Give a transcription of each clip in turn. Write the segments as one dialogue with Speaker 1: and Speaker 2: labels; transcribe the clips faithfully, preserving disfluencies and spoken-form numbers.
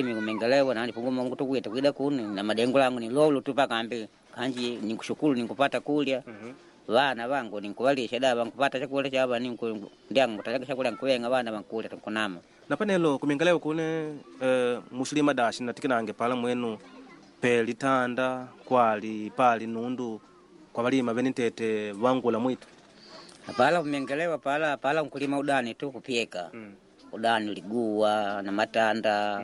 Speaker 1: Mingelewa nani punguma ngutukwita kwida kuni na madengo langu ni lolo tu paka ambi kanji nikushukuru nikupata kulya vana vangu nikuvalisha da vankupata chakula chava niku ndyangu taleka chakula nkuvenga vana vankulya tunkunama
Speaker 2: na panelo kumingalewa kune eh, mushilima dashi natikinange pala mwenu pe litanda kwali pali nundu kwa valima vene ntete vangula mwitu
Speaker 1: pala kumengelewa pala pala nkulima udani tu kupyeka
Speaker 2: mm.
Speaker 1: udani liguwa na matanda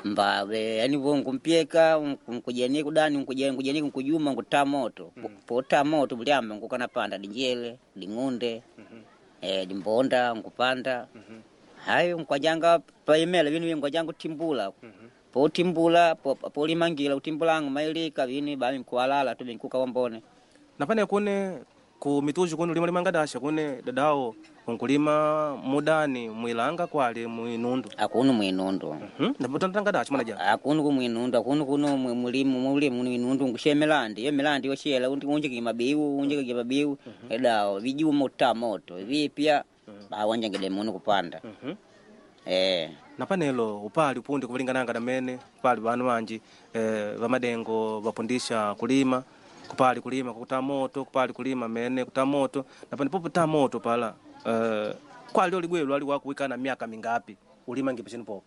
Speaker 2: Mm.
Speaker 1: mbave yani vo nkumpyeka nkujeni kudani nkujeni nkujeni nkujuma nkuta moto mm. pota moto bulyamba nkukana panda dinjele ding'unde
Speaker 2: mm -hmm.
Speaker 1: eh, dimbonda nkupanda
Speaker 2: mm -hmm.
Speaker 1: hayo nkwajanga paimela vinu vye nkwajanga kutimbula
Speaker 2: mm -hmm.
Speaker 1: potimbula po- polimangila utimbulangu mailika vinu bami nkuwalala tu vinkuka wambone
Speaker 2: napane kune ku mituji kune ulima limanga dasha kune dadao unkulima mudani mwilanga kwali mwinundu
Speaker 1: akunu mwinundu
Speaker 2: mm -hmm. dasha mwana ja
Speaker 1: akunu kumwinundu akunu kuno mwe- mulimu mulimu mwinundu nkushe milandi yo milandi yoshela unjike mabiu unjike mabiu edao vijuma uta moto vipya bawanjangide munu kupanda
Speaker 2: mm -hmm.
Speaker 1: eh
Speaker 2: napanelo upali upundi kuvalingananga namene upali vanu vanji eh, vamadengo vapundisha kulima kupali kulima kukuta moto kupali kulima mene kuta moto napane popo moto pala eh, kwali oligwelu ali wakuwikana miaka mingapi ulima ngipishini popo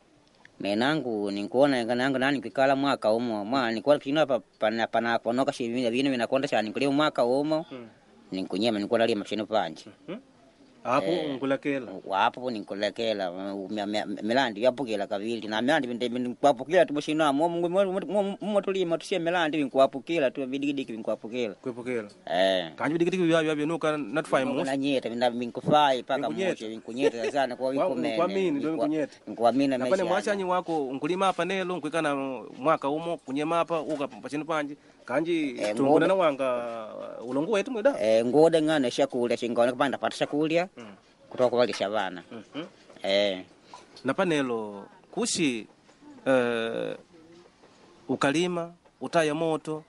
Speaker 1: menangu ninkuona nangu nani kwikala mwaka umo mwa nikuona kino apa pana pana ponoka shivina vinu vinakonda shani kulima mwaka umo
Speaker 2: mm.
Speaker 1: ninkunyema nikuona lima shinu panje
Speaker 2: mm. apo
Speaker 1: Eh.
Speaker 2: nkulakela
Speaker 1: wapo ninkulekela milandi yapukila kavili na milandi nkwapukila tu mushino mumo tulima tusie milandi vinkuwapukila tu vidigidiki vinkuwapukila
Speaker 2: kwepukela
Speaker 1: eh
Speaker 2: kanji vidigidiki vyavyo vyanuka natufai musi
Speaker 1: nanyeta vinkufai paka
Speaker 2: Vinkunyeta.
Speaker 1: muche vinkunyeta sana kwa
Speaker 2: Wa-
Speaker 1: vikumene
Speaker 2: nkuamini, ndio vinkunyeta.
Speaker 1: nkuamini
Speaker 2: napane mwachanyi wako nkulima apa nelo nkuikana mwaka umo kunyema apa uka pachinu panji kanji
Speaker 1: Eh,
Speaker 2: tunguna
Speaker 1: ngoda.
Speaker 2: na wanga ulongo wetu mwida
Speaker 1: eh ngoda ngana shakulya shingona kupanda pata shakulya
Speaker 2: Mm.
Speaker 1: kutoka kuvalisha vana
Speaker 2: mm -hmm.
Speaker 1: eh
Speaker 2: napanelo kushi eh, ukalima utaya moto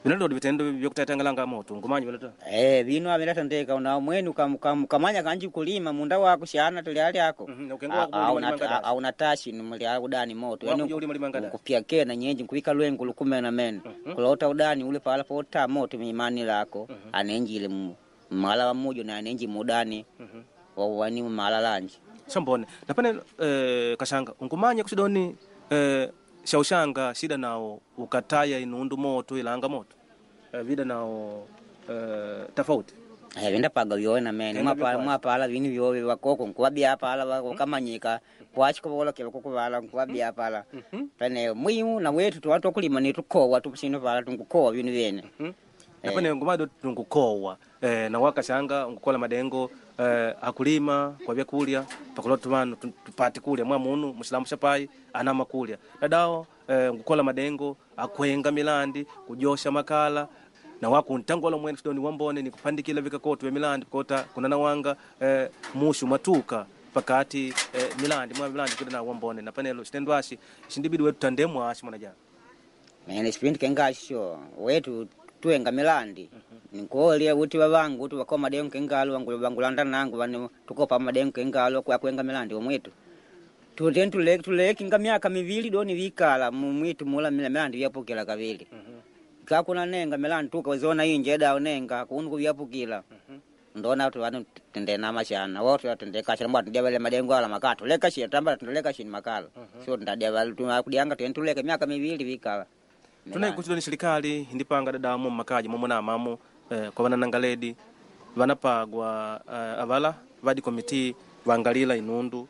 Speaker 2: vinalodi vitendo vyokutatangalanga moto ngumanyi vilota
Speaker 1: Eh, vino avilatandeka una mwenu kam, kam, kamanya kanji kulima munda wako shana tuliali ako
Speaker 2: Mhm, na ukenga wako ulima limanga dasi.
Speaker 1: auna tashi nimuli udani moto
Speaker 2: Wako ulima limanga dasi.
Speaker 1: kupya kena nyenji nkuvika lwengu lukumena mene kulota udani ule pala pota moto mimani lako anenjile mu- mala wa mujo na anenji mudani wawani mala lanji
Speaker 2: sambone napane eh, kashanga ungumanya kusidoni eh, shaushanga shida nawo ukataya inundu moto ilanga moto eh, vida nawo eh, tofauti
Speaker 1: Eh, vindapaga vyona mene
Speaker 2: Tenda
Speaker 1: mwapala
Speaker 2: vyokwasi.
Speaker 1: mwapala vinu vyowe vakoko nkuwabia pala wakamanyika kwachikovolokela kukuvala nkuwabia pala pene mwimu na wetu tuwa twakulima nitukowa tupusino pala tunkukowa vinu vyene
Speaker 2: napane ngumado tungukowa eh, na wakashanga ngukola madengo eh, akulima kwa vyakulya pakulota vanu tu- tupate kulya mwa munu musilamu shapai anama kulya dadao eh, ngukola madengo akwenga milandi kujosha makala na wakuntangola mwene sidoni wambone nikupandikila vikakoto vya milandi kota kuna nawanga eh, mushu matuka pakati eh, milandi mwa milandi kuda na wambone na panelo chitendwashi chindibidi wetu tandemwa ashi mwana jana
Speaker 1: mene sipindi kengasho wetu tuenga milandi nikuolya uti vavangu uti vakoma madengo kengalo vangu vangulanda nangu vani tukopa madengo kengalo kwa kuenga milandi omwitu tuten tuleki tulekinga miaka mivili doni vikala mumwitu mula mila milandi vyapukila kavili kakuna nenga milandi tukawezona inje dao nenga kunu kuvyapukila ndona tu vanu tende mashana wote atende kashana mbwa tundia vale madengo ala makala tuleka shi tamba tuleka shi makala sio tundadia vale tunakudianga tentuleka miaka mivili vikala
Speaker 2: tunai kuchidoni serikali indipanga dadamu mmakaji momwe na amamo eh, kwa vananangaledi vanapagwa eh, avala vadi komiti vangalila inundu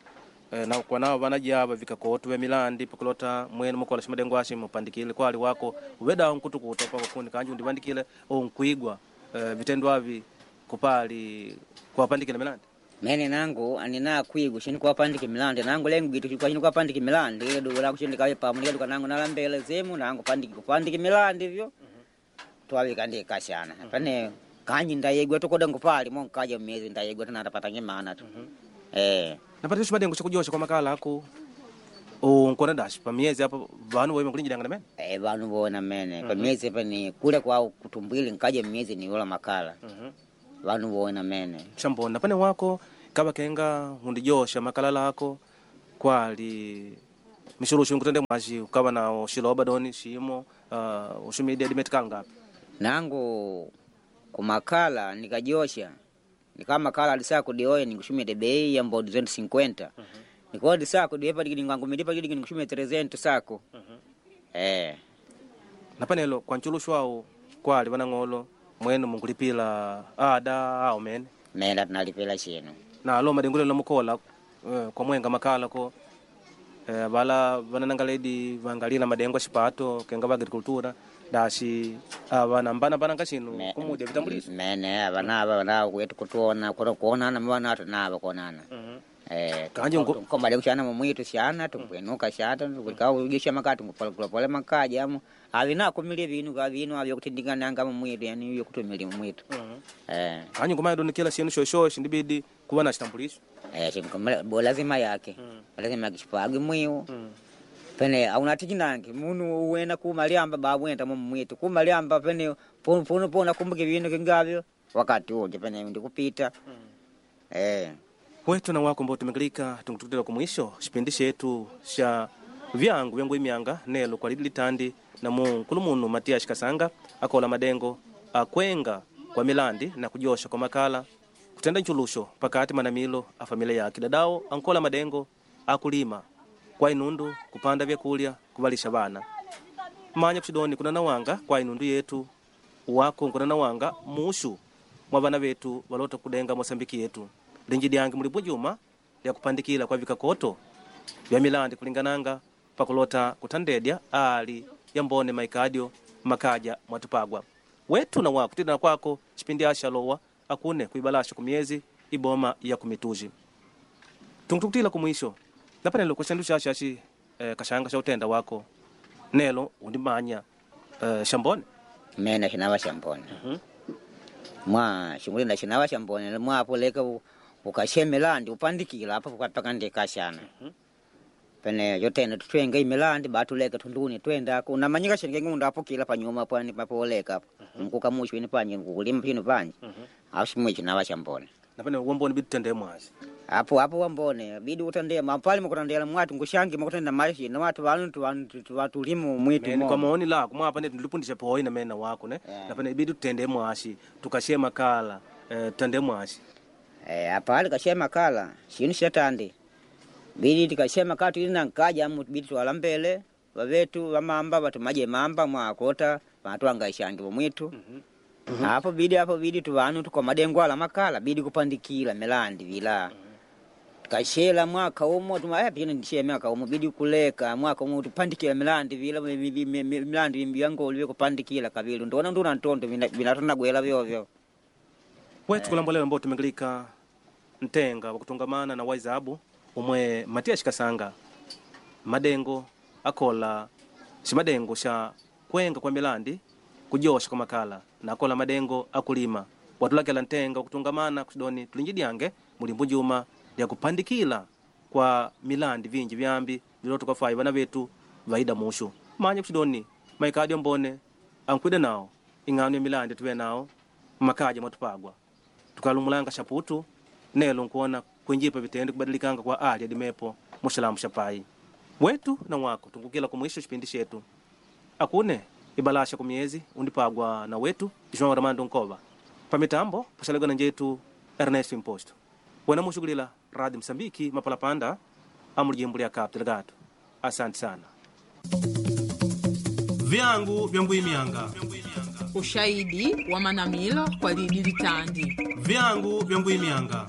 Speaker 2: eh, na kwa nao vanajava vikakotu vya milandi pakulota mwene mukola shimadengo ashi mupandikile kwali wako uvedawo nkutukuta pako kundi kanji undivandikile o nkuigwa eh, vitendo avi kupali kuwapandikila milandi
Speaker 1: mene nangu anina kwigu shini kuwapandika milandi nangu lengu gitu kwa shini kuwapandika milandi ile dugu lako shini kawe pamu nikaduka nangu nalambele zemu nangu pandiki kupandika milandi vyo twawika ndi kashana pane kanyi ndayegwa tukoda ngupali mo nkaja miezi ndayegwa tunatapata ngimana tu eh
Speaker 2: napata shimadengo chakujosha kwa makala ako unkona dashi pa miezi apa vanu waima kulinjilanga namene
Speaker 1: eh vanu bona mene pa miezi pani kule kwa kutumbwili nkaja miezi ni yola makala vanu bona mene
Speaker 2: shambona pane wako kava kenga undijosha makala lako kwali Mishulushu nkutende mwashi ukawa na ushiloba doni shimo uh, ushumide dimetikala ngapi?
Speaker 1: Nangu kumakala nikajosha nikamakala alisaku dioye nikushumide bei ya mbo duzentu cinquenta. Nikodi saku diepa digidi ngangumilipa digidi nikushumide trezentu saku. Eh.
Speaker 2: Napanelo kwa nchulushwa awo kwali vanang'olo mwenu munkulipila ada awo mene
Speaker 1: Mena tunalipila chino.
Speaker 2: Na alo madengulelo namukola eh, kwa mwenga makala ko eh, vala vananangaledi vangalila madengo xipato kenga va agricultura daxi ava nambana mbananga xinu
Speaker 1: Me-
Speaker 2: kumudia vitambulisho.
Speaker 1: Mene avanava vanava kwetu kutuona kuno kuonana mwana tunava kuonana. Eh,
Speaker 2: Kanje nko-
Speaker 1: komba kushana mumwitu shana tukwenuka shata tukaugisha makati ngupole makaja amu avina kumilie vinu ka vinu avyo kutindikana mumwitu yani yo kutumilia mumwitu. Eh.
Speaker 2: Kanje ngoma donikela xinu xoxo xindibidi kuva na xitambulisho.
Speaker 1: Eh, chimkomela bo lazima yake. Lazima kishipagi mwiu. Pene aunatikinange munu uwena kumaliamba babwenda mumwitu kumaliamba pene punu punu puna kumbuke vinu kingavyo wakati uje pene ndikupita. Eh.
Speaker 2: Wetu na wako ambao tumekilika tungutukutela kumwisho xipindi xetu xa vyangu vyangu imyanga nelo kwa lidi litandi na munkulu munu Matias Kasanga akola madengo akwenga kwa milandi na kujosha kwa makala kutenda nchulusho pakati manamilo a familia yake dadao ankola madengo akulima kwa inundu kupanda vyakulya kuvalisha vana manya kuxidoni kuna nawanga kwa inundu yetu wako nkuna nawanga mushu mwa vana vetu valota kudenga mosambiki yetu linji dyange muli bujuma lya kupandikila kwa vikakoto vya milandi kulingananga pakulota kutandedya ali yambone maikadio makaja mwatupagwa wetu na wako tidana kwako chipindi ashalowa akune kuibalasha kumyezi iboma ya kumituji tungutukutila kumwisho napanelo kuxandu xaxaxi eh, kaxanga xa utenda wako nelo undimanya eh, xambone.
Speaker 1: Mena xinava xambone. Mwa xingulinda xinava xambone mwapo leka u- ukashemelandi upandikila apo pakandi kashana. Pene yotena tutwenga imilandi batuleka tunduni twenda unamanyika xinge ngunda apukila panyuma pwani papoleka apo nkuka mushu ini panje nkukulima pino panje apo ximwe xinava xambone.
Speaker 2: Napane wambone bitutende mwazi
Speaker 1: Apo apo wambone bidi utandea mapali mukutandela mwatu ngushangi mukutenda mashi na watu vanu tulimu mwitu
Speaker 2: mene kwa
Speaker 1: mo.
Speaker 2: maoni lako mwapa ne tulipundisha poi na mena wako ne.
Speaker 1: Yeah.
Speaker 2: Napane ibidi tutende mwashi tukashe makala eh, tutende mwashi.
Speaker 1: Eh, apa ali kashema kala shinu shatandi bidi tikashema kala tulina nkaja amu bidi twala mbele vavetu vamamba vatumaje mamba mwakota vatwanga ishangi vomwitu. Apo bidi apo bidi tuvanu tukomadengo ala makala bidi kupandikila melandi vila kashela mwaka umo tuma eh pino ndishe mwaka umo bidi kuleka mwaka umo tupandikila melandi vila mi- mi- mi- mi- milandi vyangoli kupandikila kavili ndona nduna ntondo vinatonagwela vyovyo.
Speaker 2: Wetu kulambolela ambao tumengilika ntenga wa kutungamana na waizabu umwe Matias Kasanga madengo akola ximadengo xa kwenga kwa milandi kujosha kwa makala na akola madengo akulima watulakela ntenga wa kutungamana kuxidoni tulinjidyange mulimbu njuma lya kupandikila kwa milandi vinji vyambi viloto kwafai vana vetu vaida mushu manya kuxidoni maikadio mbone ankwida nao ing'ano ya milandi tuve nao makaja mwatupagwa tukalumulanga xaputu nelo nkuona kwinjipa vitendo kubadilikanga kwa ali adimepo muxilamu xa pai wetu na wako tungukila kumwisho xipindi xetu akune ibalasha kumyezi undipagwa na wetu João Armando Nkova pamitambo paxalegana njetu Ernesto Imposto wena muxukulila Rádio Moçambique mapalapanda amulijimbo lya Cabo Delgado. Asante sana. Vyangu vya ngwimianga.
Speaker 3: Ushahidi wa manamilo kwa lidi litandi.
Speaker 2: Vyangu vya ngwimianga.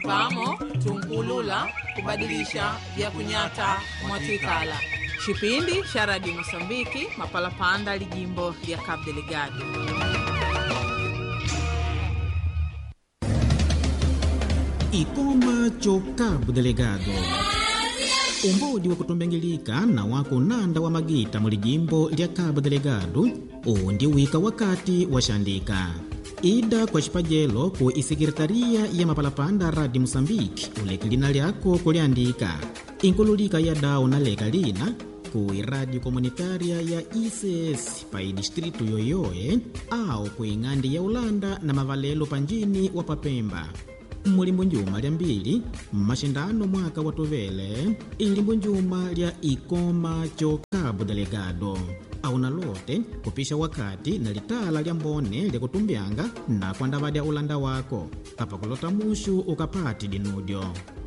Speaker 3: Pamo tunkulula kubadilisha vya kunyata mwatwikala chipindi cha Radio Mosambiki mapalapanda lijimbo lya Cabo Delgado.
Speaker 4: Ikoma cho Cabo Delegado umbodi wa kutumbengilika na wako nanda wa magita mu lijimbo lya Cabo Delegado uwu ndi wika wakati wa xandika ida kwa xipajelo ku isekretariya ya mapalapanda Radi Moçambique uleke lina lyako kuliandika inkululika ya dawu na leka lina ku iradio komunitária ya I C S pa idistritu yoyoye au ku ing'andi ya Ulanda na mavalelo panjini wa Papemba. Mulimbo njuma lya mbili mmaxindano mwaka wa tuvele ilimbo njuma lya Ikoma cho Cabo Delgado auna lote kupisha wakati na litala lya mbone lyakutumbyanga na kwandavadya ulanda wako apa kulota muxu ukapati dinudyo.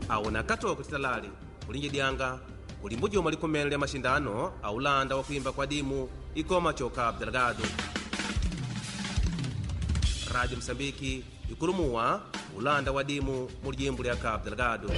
Speaker 2: Auna katoko titalali kulinji dyanga kulimbo juma likumene lya maxindano a ulanda wa kuimba kwa dimu Ikoma cho Cabo Delgado. Rádio Moçambique ikulumuwa ulanda wa dimu mu lijimbo lya Cabo Delgado.